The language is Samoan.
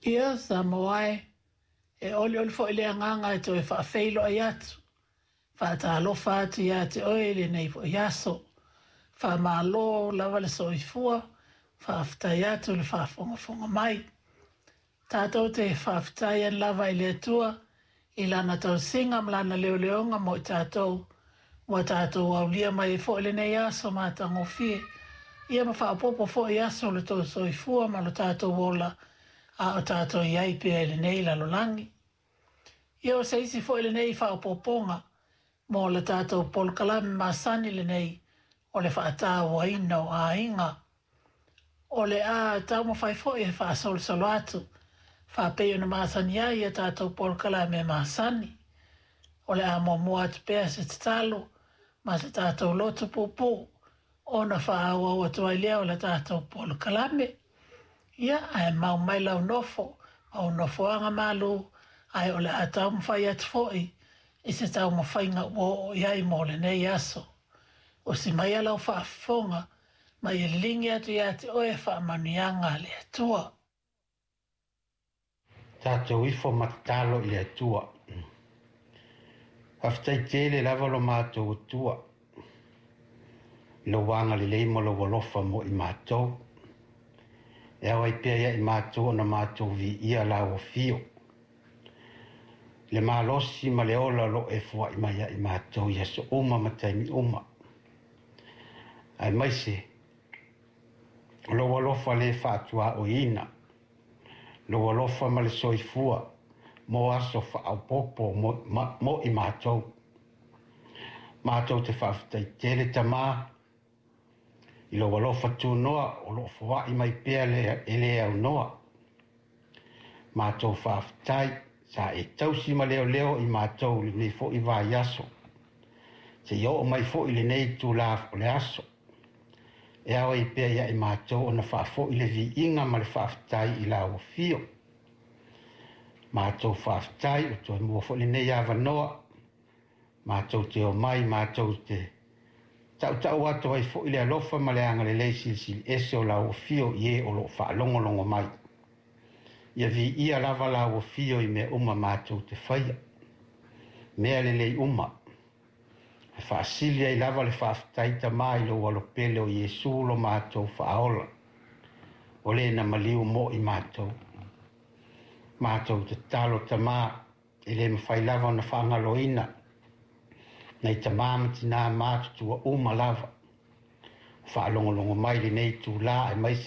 Ia, Samoa e, e olioli foi le agaga e toe faafeiloai atu, faatalofa atu ia te oe i lenei foi aso. Faamalo lava le soifua, faafetai atu le faafogafoga mai. Tatou te faafetai ai lava i le Atua i Lana tausiga ma Lana leoleoga mo i tatou, ua tatou aulia mai ai foi lenei aso matagofie, ia ma faaopoopo foi aso o lo outou soifua ma lo tatou ola a o tatou i ai pea i lenei lalolagi. Ia o se isi foi lenei faaopoopoga mo le tatou polokalame masani lenei o le faatauaina o aiga. O le a taumafai foi e faasolosolo atu faapei ona masani ai a tatou polokalame masani. O le a muamua atu pea se tatalo ma se tatou lotu puupuu ona faaauau atu ai lea o le tatou polokalame. Ia, ae mau mai lau nofo ma ou nofoaga malu, ae o le a taumafai atu foi i se taumafaiga ua oo i ai mo lenei aso. Usi maia lau faafofoga ma ia liligi atu ia te oe faamanuiaga a le Atua. Tatou ifo ma tatalo i le Atua. Faafetai tele lava lo matou Atua i lou agalelei ma lou alofa mo i matou. E ao ai pea ia i matou ona matou viia lau afio. Le malosi ma le ola o lo o e foai mai ia i matou i aso uma ma taimi uma. Aemaise o lou alofa le faatuaoiina, lou alofa ma le soifua mo aso faaopoopo mo i matou. Matou te faafetai tele Tama i lou alofa tunoa o lo o foai mai pea e le aunoa. Matou faafetai sa e tausi ma leoleo i matou i lenei foi vaiaso, seia oo mai foi i lenei itula o le aso. E ao ai pea ia i matou ona faafoi le viiga ma le faafetai i lau afio. Matou faafetai ua toe maua foi lenei avanoa, matou te omai, matou te tautau atu ai foi le alofa ma le agalelei silisili ese o lau afio i e o lo o faalogologo mai. Ia viia lava lau afio i mea uma matou te faia, mea lelei uma. E faasili ai lava le faafetai Tama i lou alopele o Iesu lo matou faaola, o le na maliu mo i matou. Matou tatalo Tama, e le mafai lava ona faagaloina nai tama ma tina matutua uma lava o faalogologo mai lenei itula, aemaise